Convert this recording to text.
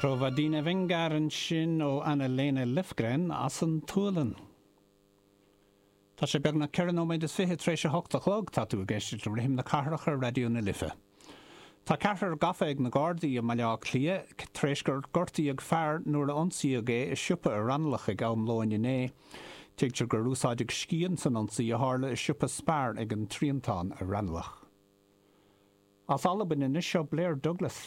Prova dina vängar ansin ó Anna-Lena Löfgren as an tSualainn. Tá sé beagnach 4 nóiméad is 20 tar éis a hocht a chlog. Tá tú ag éisteacht le Rithim na Cathrach ar Raidió na Life. Tá ceathrar gafa ag na Gardaí i mBaile Átha Cliath tar éis gur gortaíodh fear nuair a ionsaíodh é i siopa i Raghnallach ag am lóin inné. Tuigtear gur úsáideadh scian san ionsaí a tharla i siopa Spar ag an Triantán i Raghnallach. As Albain anois seo Blair Douglas.